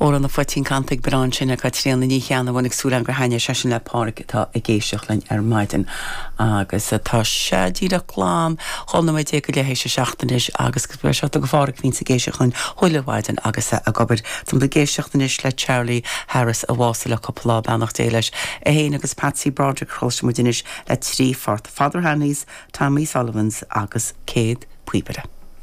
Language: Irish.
Amhrán an Phoitín canta ag mná ansin ag Caitríona Ní Cheannabháin ag súil agam gur thaitnigh sé sin le Pádhraic atá ag éisteacht linn ar maidin. Agus tá sé díreach glan 12 nóiméad go leith théis a 7 anois agus go speisialta do Phádhraic a bhíonns ag éisteacht linn chuile mhaidin agus é ag obair. Táimid ag éisteacht anois le Charlie Harris a bhásaigh le cúpla lá, beannacht Dé leis. É féin agus Patsy Broderick a chloisfidh muid anois le 3 phort, Father Hanley's, Tommy Sullivan's agus Céad Píobaire.